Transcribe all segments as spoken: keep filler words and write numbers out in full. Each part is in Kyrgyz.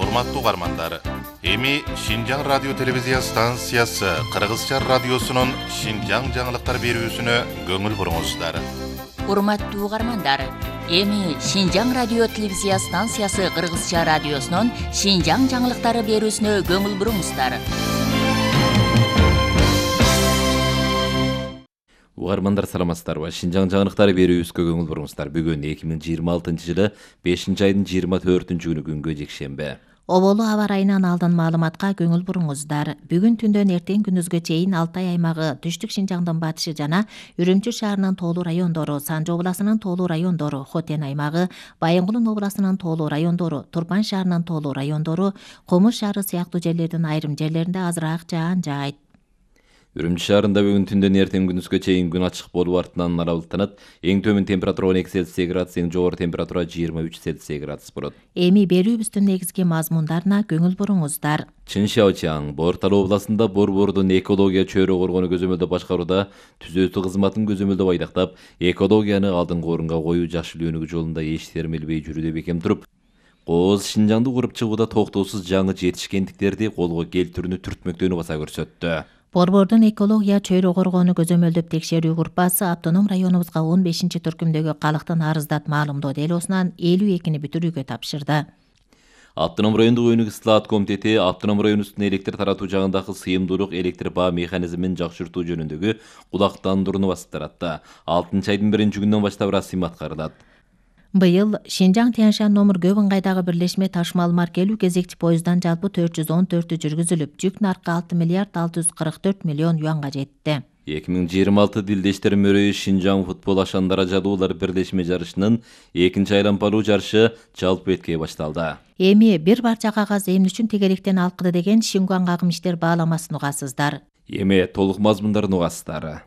Урматтуу угармандар, эми Шинжаң радио телевизия станциясы Кыргызча радиосунун Шинжаң жаңылыктар берүүсүнө көңүл буруңуздар. Урматтуу угармандар, эми Шинжаң радио телевизия станциясы Кыргызча радиосунун Шинжаң жаңылыктары берүүсүнө көңүл буруңуздар. Угармандар саламатсыздарбы? Шинжаң жаңылыктары берүүбүзгө көңүл буруңуздар. Бүгүн эки миң жыйырма алтынчы жылы бешинчи айдын жыйырма төртүнчү күнү күнгө жекшемби. Оболу аба ырайынан алдын маалыматка көңүл буруңуздар. Бүгүн түндөн эртең күндүзгө чейин Алтай аймагы, Түштүк Шинжаңдын батышы жана Үрүмчү шаарынын тоолуу райондору, Санжы областынын тоолуу райондору, Хотен аймагы, Байынгулун областынын тоолуу райондору, Турпан шаарынын тоолуу райондору, Комуш шаары сыяктуу жерлердин айрым жерлеринде азыраак жаан жаайт. Үрүмчү шаарында бүгүн түндөн эртең күндүзгө чейин күн ачык болуп артынан аралыктанат. Эң төмөн температура он эки Цельсий градус, эң жогору температура жыйырма үч Цельсий градус болот. Эми берүүбүздүн негизги мазмундарына көңүл буруңуздар. Чыншаочаң Борталуу областында Борбордун экология чөйрө коргону көзөмөлдөө башкарууда түзөтүү кызматын көзөмөлдөп айдактап, экологияны алдыңкы орунга коюу жакшы өнүгүү жолунда эч термелбей жүрүүдө бекем туруп, Кооз Шинжаңды куруп чыгууда токтоосуз жаңы жетишкендиктерди колго келтирүүнү түртмөктөөнү баса көрсөттү. Борбордун экология чөйрө коргоону көзөмөлдөп текшерүү группасы автоном районубузга он бешинчи түркүмдөгү калктын арыздат маалымдоо делосунан элүү экини бүтүрүүгө тапшырды. Автоном райондук өнүгүү ысылаат комитети автоном район үстүнө электр таратуу жагындагы сыйымдуулук электр баа механизмин жакшыртуу жөнүндөгү кулактандырууну басып таратты. алтынчы айдын биринчи күнүнөн баштап расмий аткарылат. Быйыл Шинжаң Тянь-Шань номер көп ыңгайдагы бирлешме ташмал маркелүү кезекчи поезддан жалпы төрт жүз он төртү жүргүзүлүп, жүк наркы алты миллиард алты жүз кырк төрт миллион юанга жетти. эки миң жыйырма алты Дилдештер мөрөйү Шинжаң футбол ашан даражалуулар бирлешме жарышынын экинчи айлампалуу жарышы жалпы эткей башталды. Эми бир барча кагаз эмне үчүн тегеректен алкыды деген Шингуан агым иштер бааламасын угасыздар. Эми толук мазмундарын угасыздар.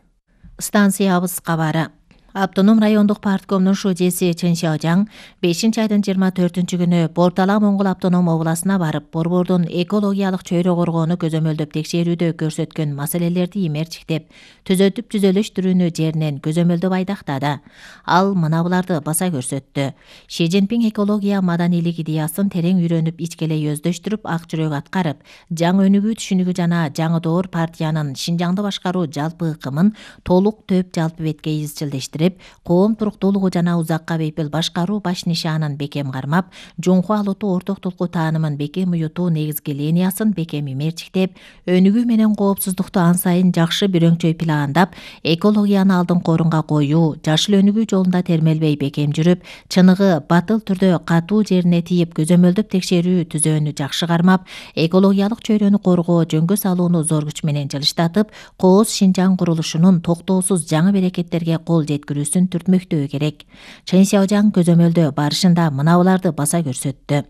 Станциябыз кабары. Автоном райондук парткомдун шужеси Чын Шаожаң бешинчи айдын жыйырма төртүнчү күнү Бортала Моңгол автоном областына барып, Борбордун экологиялык чөйрө коргоону көзөмөлдөп текшерүүдө көрсөткөн маселелерди имерчиктеп, түзөтүп түзөлүштүрүүнү жеринен көзөмөлдөп айдактады. Ал мына буларды баса көрсөттү. Ши Цзиньпин экология маданийлик идеясын терең үйрөнүп, ичкелей өздөштүрүп, ак жүрөк аткарып, жаңы өнүгүү түшүнүгү жана жаңы доор партиянын Шинжаңды башкаруу жалпы ыкымын толук төп жалпы бетке изчилдештирип, коом туруктуулугу жана узакка бейпил башкаруу баш нишанын бекем кармап, жумку алутуу ортоктулку таанымын бекем уютуу негизги линиясын бекем имерчиктеп, өнүгүү менен коопсуздукту ан сайын жакшы бирөңчөй пландап, экологияны алдыңкы орунга коюу, жашыл өнүгүү жолунда термелбей бекем жүрүп, чыныгы батыл түрдө катуу жерине тийип көзөмөлдөп текшерүү түзөөнү жакшы кармап, экологиялык чөйрөнү коргоо, жөнгө салууну зор күч менен жылыштатып, Кооз Шинжаң курулушунун токтоосуз жаңы берекеттерге кол жеткирүүсүн түртмөктөө керек. Чын Шаожаң көзөмөлдөө барышында мына буларды баса көрсөттү.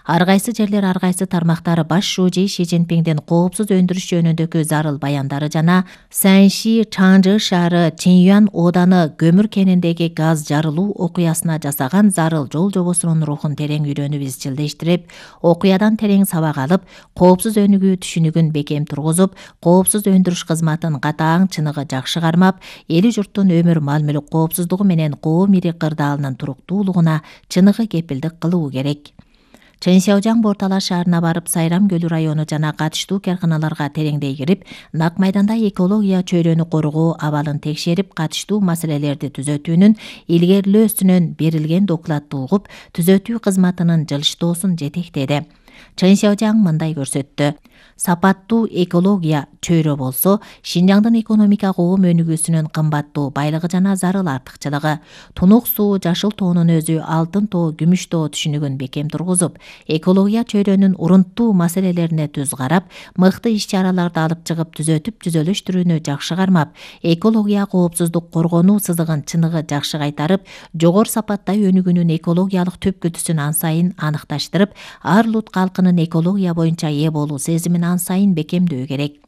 Ар кайсы жерлер, ар кайсы тармактары баш шужи Ши Цзиньпиндин коопсуз өндүрүш жөнүндөгү зарыл баяндары жана Санши Чаңжы шаары Чинюан ооданы көмүр кениндеги газ жарылуу окуясына жасаган зарыл жол жобосунун рухун терең үйрөнүп изчилдештирип, окуядан терең сабак алып, коопсуз өнүгүү түшүнүгүн бекем тургузуп, коопсуз өндүрүш кызматын катаң чыныгы жакшы кармап, эли журттун өмүр мал-мүлүк коопсуздугу менен коом ири кырдаалынын туруктуулугуна чыныгы кепилдик кылуу керек. Чын Шаожаң Бортала шаарына барып, Сайрам көлү району жана катыштуу карканаларга тереңдей кирип, нак майданда экология чөйрөнү коргоо абалын текшерип, катыштуу маселелерди түзөтүүнүн илгерилөөсүнөн берилген докладты угуп, түзөтүү кызматынын жылыштоосун жетектеди. Чын Шаожаң мындай көрсөттү. Сапаттуу экология чөйрө болсо, Шинжаңдын экономика коом өнүгүүсүнүн кымбаттуу байлыгы жана зарыл артыкчылыгы, тунук суу, жашыл тоонун өзү, алтын тоо, күмүш тоо түшүнүгүн бекем тургузуп, экология чөйрөнүн урунттуу маселелерине түз карап, мыкты иш-чараларды алып чыгып, түзөтүп түзөлүштүрүүнү жакшы кармап, экология коопсуздук коргонуу сызыгын чыныгы жакшы кайтарып, жогору сапаттай өнүгүүнүн экологиялык түпкүлтүсүн ан сайын аныкташтырып, ар улут калкынын экология боюнча ээ болуу сезимин ан сайын бекемдөө керек.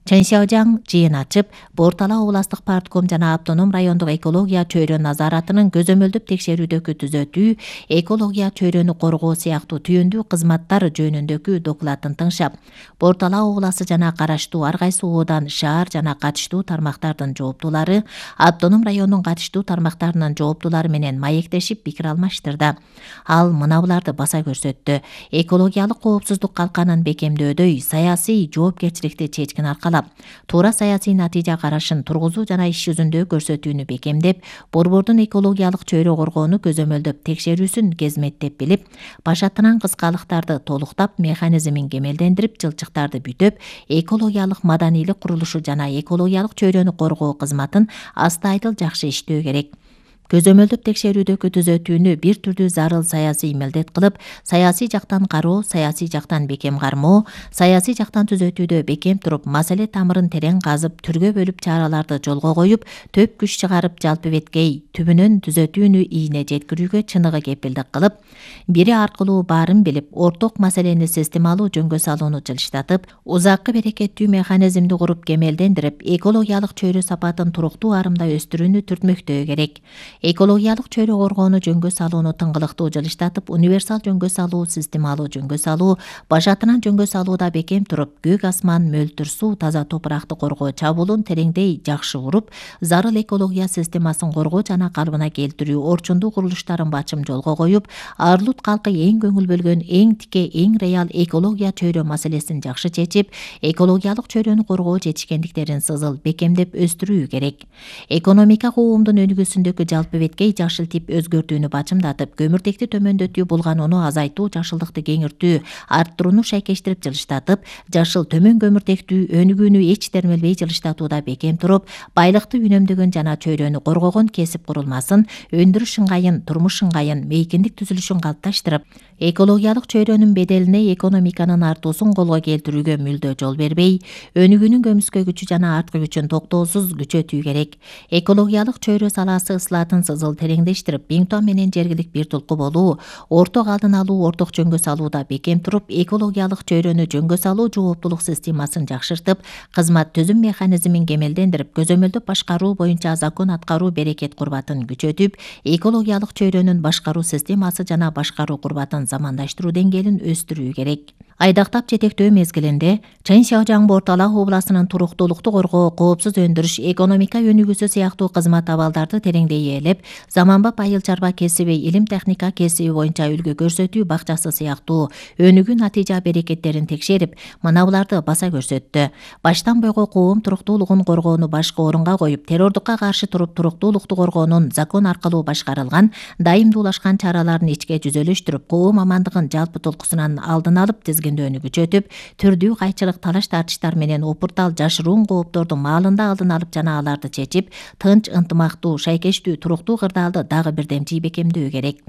Чэньсяожаң жыйын ачып, Бортала областык партком жана автоном райондук экология чөйрө назаратынын көзөмөлдөп текшерүүдөгү түзөтүү, экология чөйрөнү коргоо сыяктуу түйүндүү кызматтар жөнүндөгү докладын тыңшап, Бортала областы жана караштуу ар кайсы оодан, шаар жана катыштуу тармактардын жооптулары, автоном райондун катыштуу тармактарынын жооптулары менен маектешип пикир алмаштырды. Ал мына буларды баса көрсөттү. Экологиялык коопсуздук калканын бекемдөөдөй саясий жоопкерчиликти чечкин аркалап, туура саясий натыйжа карашын тургузуу жана иш жүзүндө көрсөтүүнү бекемдеп, борбордун экологиялык чөйрө коргоону көзөмөлдөп текшерүүсүн кезметтеп билип, башатынан кыскалыктарды толуктап, механизмин кемелдендирип, жылчыктарды бүтөп, экологиялык маданийлик курулушу жана экологиялык чөйрөнү коргоо кызматын астайдыл жакшы иштөө керек. Көзөмөлдөп текшерүүдөгү түзөтүүнү бир түрдүү зарыл саясий милдет кылып, саясий жактан кароо, саясий жактан бекем кармоо, саясий жактан түзөтүүдө бекем туруп, маселе тамырын терең казып, түргө бөлүп чараларды жолго коюп, төп күч чыгарып, жалпы беткей түбүнөн түзөтүүнү ийине жеткирүүгө чыныгы кепилдик кылып, бири аркылуу баарын билип, орток маселени системалуу жөнгө салууну жылыштатып, узаккы берекеттүү механизмди куруп кемелдендирип, экологиялык чөйрө сапатын туруктуу арымда өстүрүүнү түртмөктөө керек. Экологиялык чөйрө коргоону жөнгө салууну тыңгылыктуу жылыштатып, универсал жөнгө салуу, системалуу жөнгө салуу, башатынан жөнгө салууда бекем туруп, көк асман, мөлтүр суу, таза топуракты коргоо чабуулун тереңдей жакшы уруп, зарыл экология системасын коргоо жана калыбына келтирүү орчундуу курулуштарын бачым жолго коюп, Арлут калкы эң көңүл бөлгөн, эң тике, эң реал экология чөйрө маселесин жакшы чечип, экологиялык чөйрөнү коргоо жетишкендиктерин сызыл бекемдеп өстүрүү керек. Экономика коомдун өнүгүүсүндөгү жалпы беткей жашыл тип өзгөртүүнү бачымдатып, көмүртекти төмөндөтүү, булганууну азайтуу, жашылдыкты кеңиртүү, арттырууну шайкештирип жылыштатып, жашыл төмөн көмүртектүү өнүгүүнү эч термелбей жылыштатууда бекем туруп, байлыкты үнөмдөгөн жана чөйрөнү коргогон кесип курулмасын, өндүрүш ыңгайын, турмуш ыңгайын, мейкиндик түзүлүшүн калыпташтырып, экологиялык чөйрөнүн беделине экономиканын артуусун колго келтирүүгө мүлдө жол бербей, өнүгүүнүн көмүскө күчү жана арткы күчүн токтоосуз күчөтүү керек. Экологиялык чөйрө саласы ысылатын сызыл тереңдештирип, Бингтон менен жергилик бир тулку болуу, орток алдын алуу, орток жөнгө салууда бекем туруп, экологиялык чөйрөнү жөнгө салуу жооптулук системасын жакшыртып, кызмат түзүм механизмин кемелдендирип, көзөмөлдөп башкаруу боюнча закон аткаруу берекет курбатын күчөтүп, экологиялык чөйрөнүн башкаруу системасы жана башкаруу курбатын замандаштыруу деңгээлин өстүрүү керек. Айдактап жетектөө мезгилинде Чэньсяожаң Бортала областынын туруктуулукту коргоо, коопсуз өндүрүш, экономика өнүгүүсү сыяктуу кызмат абалдарды тереңдей ээлеп, заманбап айыл чарба кесиби, илим техника кесиби боюнча үлгү көрсөтүү бакчасы сыяктуу өнүгүү натыйжа берекеттерин текшерип, мына буларды баса көрсөттү. Баштан бойго коом туруктуулугун коргоону башкы орунга коюп, террордукка каршы туруп, туруктуулукту коргоонун закон аркылуу башкарылган дайымдуулашкан чараларын ичке жүзөлөштүрүп, коом амандыгын жалпы толкусунан алдын алып тизгиндөөнү күчөтүп, түрдүү кайчылык талаш тартыштар менен опуртал жашыруун коопторду маалында алдын алып жана аларды чечип, тынч, ынтымактуу, шайкештүү, туруктуу кырдаалды дагы бирдемчи бекемдөө керек.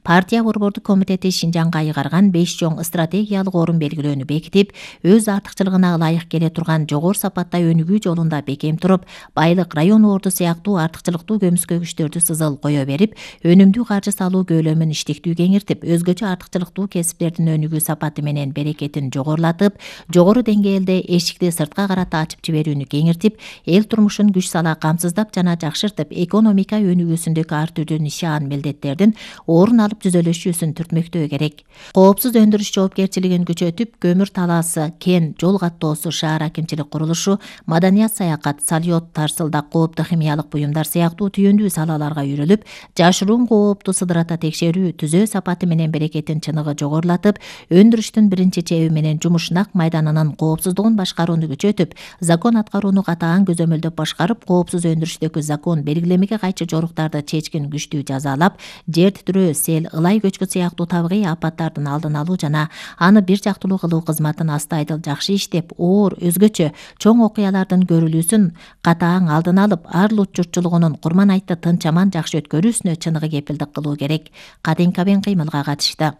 Партия борбордук комитети Шинжаңга айгарган беш чоң стратегиялык орун белгилөөнү бекитип, өз артыкчылыгына ылайык келе турган жогору сапатта өнүгүү жолунда бекем туруп, байлык, район орду сыяктуу артыкчылыктуу көмүскө күчтөрдү сызыл кое берип, өнүмдүү каржы салуу көлөмүн иштиктүү кеңиртип, өзгөчө артыкчылыктуу кесиптердин өнүгүү сапаты менен берекетин жогорулатып, жогору деңгээлде эшикти сыртка карата ачып жиберүүнү кеңиртип, эл турмушун күч сала камсыздап жана жакшыртып, экономика өнүгүүсүндөгү ар түрдүү нишан милдеттердин орун алып түзөлүшүүсүн түртмөктөө керек. Коопсуз өндүрүш жоопкерчилигин күчөтүп, көмүр талаасы, кен, жол каттоосу, шаар акимчилик курулушу, маданият, саякат, салют, тарсылдак, кооптуу химиялык буюмдар сыяктуу түйүндүү салаларга үйрүлүп, жашыруун коопту сыдырата текшерүү, түзөө сапаты менен берекетин чыныгы жогорулатып, өндүрүштүн биринчи чеби менен жумушнак майданынын коопсуздугун башкарууну күчөтүп, закон аткарууну катаан көзөмөлдөп башкарып, коопсуз өндүрүштөгү закон белгилемеге кайчы жоруктарды чечкин күчтүү жазалап, жер титирөө, сел, ылай көчкү сыяктуу табигый апаттардын алдын алуу жана аны бир жактылуу кылуу кызматын астайдыл жакшы иштеп, оор, өзгөчө чоң окуялардын көрүлүүсүн катаан алдын алып, Арлут журтчулугунун курман айтты тынч аман жакшы өткөрүүсүнө чыныгы кепилдик кылуу керек. Кадин Кабен кыймылга катышты.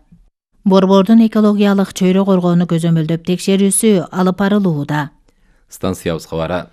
Борбордун экологиялык чөйрө коргоону көзөмөлдөп текшерүүсү алып барылууда. Станциябыз кабары.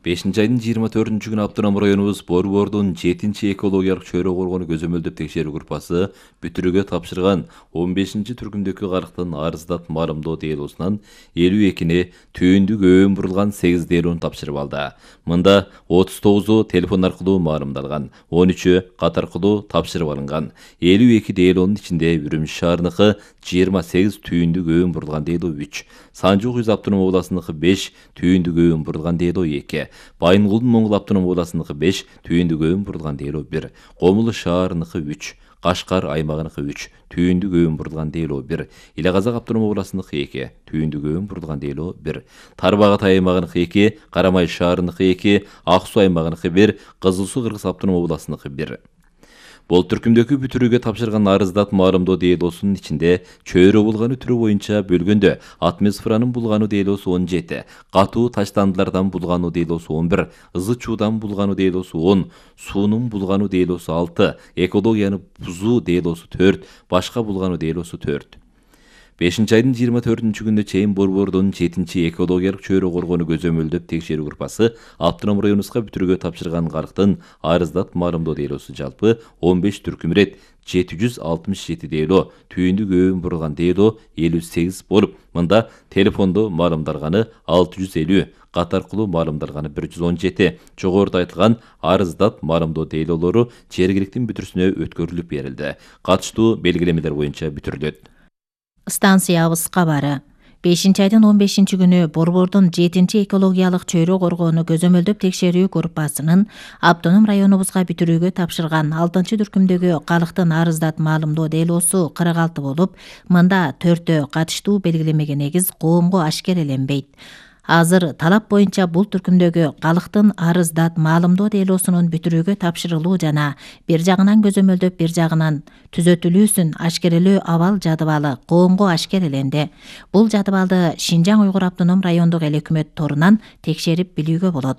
бешинчи айдын жыйырма төртүнчү күнү Автоном районубуз Борбордун жетинчи экологиялык чөйрө коргону көзөмөлдөп текшерүү группасы бүтүрүүгө тапшырган он бешинчи түркүмдөгү карыктын арыздат маалымдоо делосунан элүү экини түйүндүк өбөн бурулган сегиз делону тапшырып алды. Мында отуз тогузу телефон аркылуу маалымдалган, он үчү кат аркылуу тапшырып алынган. элүү эки делонун ичинде Үрүмчү шаарыныкы жыйырма сегиз түйүндүк өбөн бурулган дело үч, Санжы УЗ автоном областыныкы беш түйүндүк өбөн бурулган дело эки, Байынгулдун Моңгол автоном областыныкы беш түйүндүк өбөн бурулган дело бир, Комулу шаарыныкы үч, Кашкар аймагыныкы үч түйүндүк өбөн бурулган дело бир, Иле Казак автоном областыныкы эки түйүндүк өбөн бурулган дело бир, Тарбак Атай аймагыныкы эки, Карамай шаарыныкы эки, Ак Суу аймагыныкы бир, Кызыл Суу Кыргыз автоном областыныкы бир. Бул түркүмдөгү бүтүрүүгө тапшырган арыздат маалымдоо делосунун ичинде чөйрө булгану түрү боюнча бөлгөндө атмосферанын булгану делосу он жети, катуу таштандылардан булгану делосу он бир, ызы чуудан булгану делосу он, суунун булгану делосу алты, экологияны бузуу делосу төрт, башка булгану делосу төрт. бешинчи айдын жыйырма төртүнчү күнүнө чейин Борбордун жетинчи экологиялык чөйрө коргону көзөмөлдөп текшерүү группасы Автоном районубузга бүтүрүүгө тапшырган карыктын арыздат маалымдоо делосу жалпы он беш түркүм ирет, жети жүз алтымыш жети дело, түйүндүк өбөн бурулган дело элүү сегиз болуп, мында телефондо маалымдалганы алты жүз элүү, кат аркылуу маалымдалганы бир жүз он жети, жогоруда айтылган арыздат маалымдоо делолору жергиликтин бүтүрүсүнө өткөрүлүп берилди. Катыштуу белгилемелер боюнча бүтүрүлөт. Станциябыз кабары. бешинчи айдын он бешинчи күнү Борбордун жетинчи экологиялык чөйрө коргону көзөмөлдөп текшерүү группасынын Автоном районубузга бүтүрүүгө тапшырган алтынчы түркүмдөгү калктын арыздат маалымдоо делосу кырк алты болуп, мында төртөө катыштуу белгилемеге негиз коомго ашкереленбейт. Азыр талап боюнча бул түркүмдөгү калктын арыздат маалымдоо делосунун бүтүрүүгө тапшырылуу жана бир жагынан көзөмөлдөп бир жагынан түзөтүлүүсүн ашкерелөө абал жадыбалы коомго ашкереленди. Бул жадыбалды Шинжаң Уйгур автоном райондук эл өкмөт торунан текшерип билүүгө болот.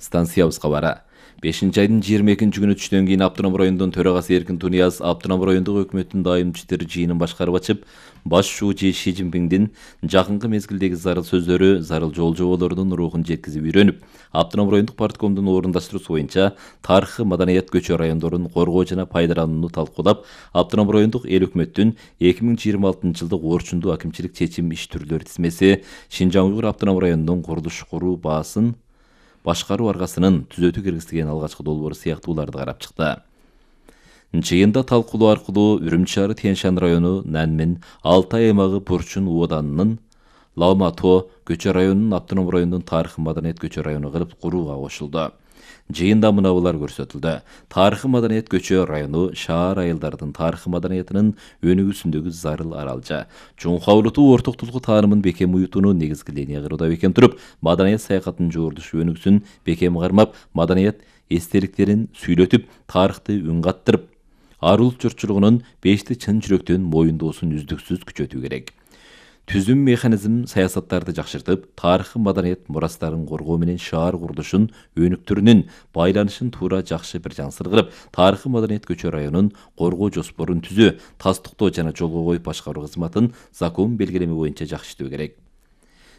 Станциябыз кабары. бешинчи айдын жыйырма экинчи күнү түштөн кийин Автоном районунун төрагасы Эркин Тунияз Автоном райондук өкмөттүн дайым иштери жыйынын башкарып ачып, баш шуучу Ши Цзиньпиндин жакынкы мезгилдеги зарыл сөздөрү, зарыл жол жоболорунун рухун жеткизип үйрөнүп, Автоном райондук парткомдун орундаштыруусу боюнча тарыхый маданият көчө райондорун коргоо жана пайдаланууну талкуулап, Автоном райондук эл өкмөттүн эки миң жыйырма алтынчы жылдык орчундуу акимчилик чечим иш түрлөрү тизмеси Шинжаң Уйгур автоном районунун курулуш куруу баасын башкаруу аргасынын түзөтүү киргизилген алгачкы долбоору сыяктууларды карап чыкты. Жыйында талкуулоо аркылуу Үрүмчү шаары Тянь-Шань району Нанмен, Алтай аймагы Бурчун ооданынын Лаумато көчө районунун Автоном районунун тарыхый маданият көчө району кылып курууга кошулду. Жыйында мынабулар көрсөтүлдү. Тарыхый маданият көчө району шаар айылдардын тарыхый маданиятынын өнүгүүсүндөгү зарыл аралжа. Жумхаулутуу ортоктулугу таанымын бекем уютууну негизги линия кыруууда бекем туруп, маданият саякатын жуурдуш өнүгүүсүн бекем кармап, маданият эстеликтерин сүйлөтүп, тарыхты үн каттырып, ар улут журтчулугунун бешти чын жүрөктөн моюндоосун үздүксүз күчөтүү керек. Түзүм механизм саясаттарды жакшыртып, тарыхый маданият мурастарын коргоо менен шаар курулушун өнүктүрүүнүн байланышын туура жакшы бир жансыр кылып, тарыхый маданият көчө районун коргоо жоспорун түзүү, тастыктоо жана жолго коюп башкаруу кызматын закон белгилеме боюнча жакшы иштөө керек.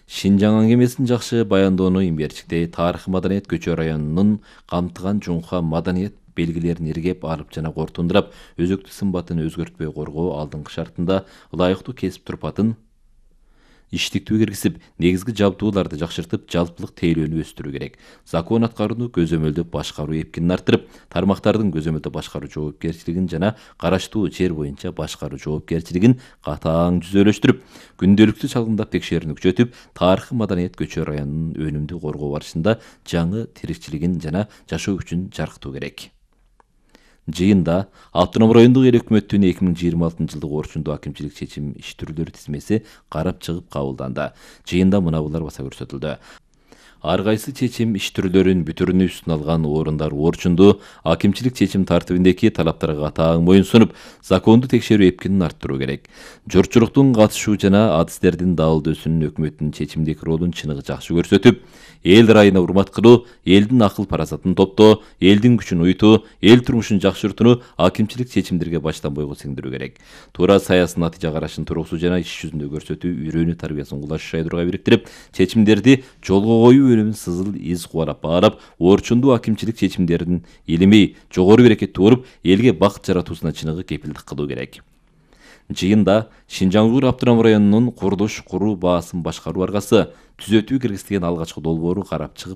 Шинжаң аңгемесин жакшы баяндоону имберчикте тарыхый маданият көчө районунун камтыган жунха маданият белгилерин иргеп алып жана кортундурап, өзөктү сымбатын өзгөртпөй коргоо алдыңкы шартында ылайыктуу кесип турпатын иштиктүү киргизип, негизги жабдууларды жакшыртып, жалпылык тейлөөнү өстүрүү керек. Закон аткарууну көзөмөлдөп башкаруу эпкинин арттырып, тармактардын көзөмөлдө башкаруу жоопкерчилигин жана караштуу жер боюнча башкаруу жоопкерчилигин катаң жүзөлөштүрүп, күндөлүктүү чалгындап текшерүүнү күчөтүп, тарыхый маданият көчө районунун өнүмдүү коргоо барышында жаңы тирикчилигин жана жашоо күчүн жаркытуу керек. Жыйында Автоном райондук эл өкмөттүн эки миң жыйырма алтынчы жылдык орчундуу акимчилик чечим иш түрлөрү тизмеси карап чыгып кабылданды. Жыйында мынабулар баса көрсөтүлдү. Ар кайсы чечим иш түрлөрүн бүтүрүүнү үстүнө алган орундар орчундуу акимчилик чечим тартибиндеги талаптарга катаң моюн сунуп, законду текшерүү эпкинин арттыруу керек. Журтчулуктун катышуу жана адистердин дабылдөөсүнүн өкмөттүн чечимдеги ролун чыныгы жакшы көрсөтүп, эл райына урмат кылуу, элдин акыл парасатын топтоо, элдин күчүн уютуу, эл турмушун жакшыртууну акимчилик чечимдерге баштан бойго сиңдирүү керек. Туура саясий натыйжа карашын туругусу жана иш жүзүндө көрсөтүү үйрөнүү тарбиясын кулаш шайдурга бириктирип, чечимдерди жолго коюу бөлүмүн сызыл из кубарап баарап, орчундуу акимчилик чечимдерин элемей жогору берекет тууруп, элге бакыт жаратуусуна чыныгы кепилдик кылуу керек. Жыйында Шинжаң Уйгур автоном районунун курулуш куруу баасын башкаруу аргасы түзөтүү киргизилген алгачкы долбоору карап чыгып